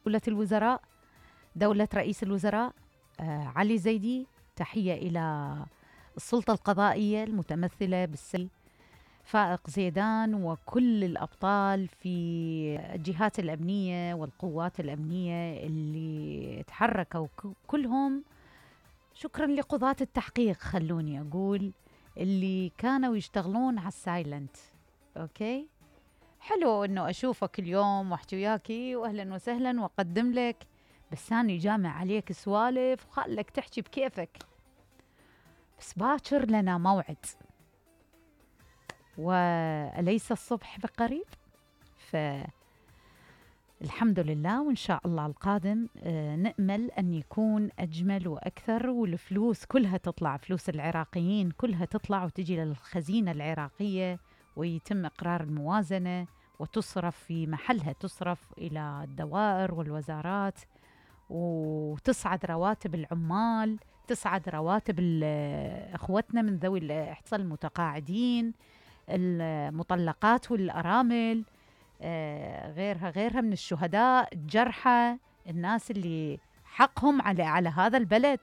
دولة الوزراء، دولة رئيس الوزراء علي زيدي. تحية إلى السلطة القضائية المتمثلة بالسيد فائق زيدان وكل الأبطال في الجهات الأمنية والقوات الأمنية اللي تحركوا كلهم. شكرا لقضاة التحقيق، خلوني أقول، اللي كانوا يشتغلون على السايلنت. أوكي، حلو أنه أشوفك اليوم واحكي وياكي وأهلا وسهلا وأقدم لك، بس أنا جامع عليك سوالف وخلك تحكي بكيفك، بس باكر لنا موعد، وأليس الصبح بقريب؟ فالحمد لله، وإن شاء الله القادم نأمل أن يكون أجمل وأكثر، والفلوس كلها تطلع، فلوس العراقيين كلها تطلع وتجي للخزينة العراقية، ويتم إقرار الموازنة وتصرف في محلها، تصرف إلى الدوائر والوزارات، وتصعد رواتب العمال، تصعد رواتب اخوتنا من ذوي الاحتياجات المتقاعدين، المطلقات والارامل، غيرها من الشهداء، الجرحى، الناس اللي حقهم على هذا البلد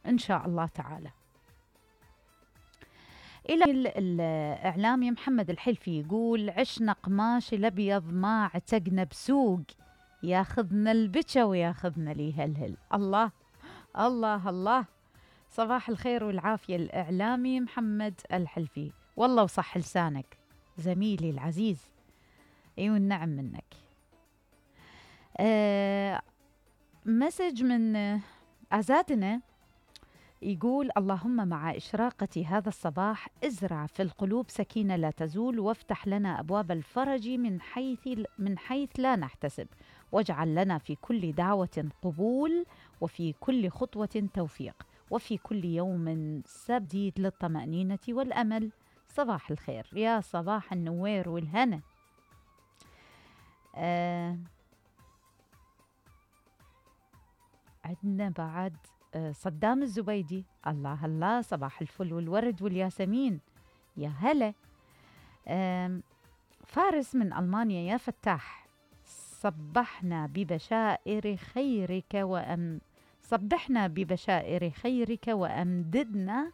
ان شاء الله تعالى. الى الاعلامي محمد الحلفي يقول: عشنا قماش الابيض ما عتقنا بسوق، ياخذنا البكا وياخذنا ليهلهل. الله الله الله، صباح الخير والعافية الإعلامي محمد الحلفي، والله وصح لسانك زميلي العزيز، أيوة النعم منك. مسج من أزادنا يقول: اللهم مع إشراقة هذا الصباح ازرع في القلوب سكينة لا تزول، وافتح لنا أبواب الفرج من حيث لا نحتسب، واجعل لنا في كل دعوة قبول، وفي كل خطوة توفيق، وفي كل يوم سبديد للطمأنينة والأمل. صباح الخير، يا صباح النوير والهنا. عندنا بعد صدام الزبيدي، الله الله، صباح الفل والورد والياسمين، يا هلا. فارس من ألمانيا: يا فتاح، صبحنا ببشائر خيرك وأمددنا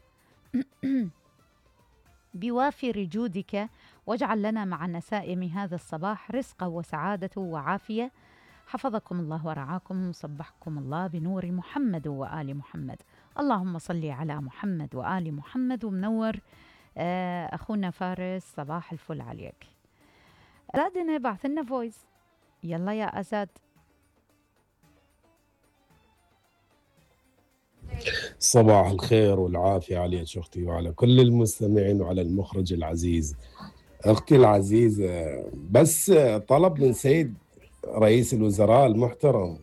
بوافر جودك، واجعل لنا مع نسائم هذا الصباح رزقا وسعادة وعافية. حفظكم الله ورعاكم، صبحكم الله بنور محمد وآل محمد. اللهم صل على محمد وآل محمد. ومنور أخونا فارس، صباح الفل عليك. أزادنا بعث لنا فويس، يلا يا أزاد. صباح الخير والعافية عليك أختي، وعلى كل المستمعين، وعلى المخرج العزيز. أختي العزيزة، بس طلب من سيد رئيس الوزراء المحترم،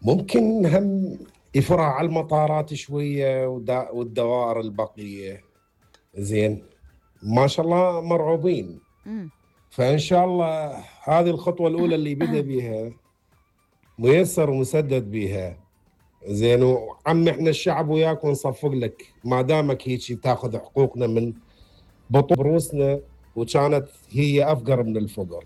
ممكن هم يفرع على المطارات شوية والدوائر البقية، زين؟ ما شاء الله مرعوبين. فإن شاء الله هذه الخطوة الأولى اللي بدأ بها ميسر ومسدد بها، زين. وعم احنا الشعب وياك ونصفق لك، ما دامك هيك تاخذ حقوقنا من بطون روسنا، وكانت هي أفقر من الفقر.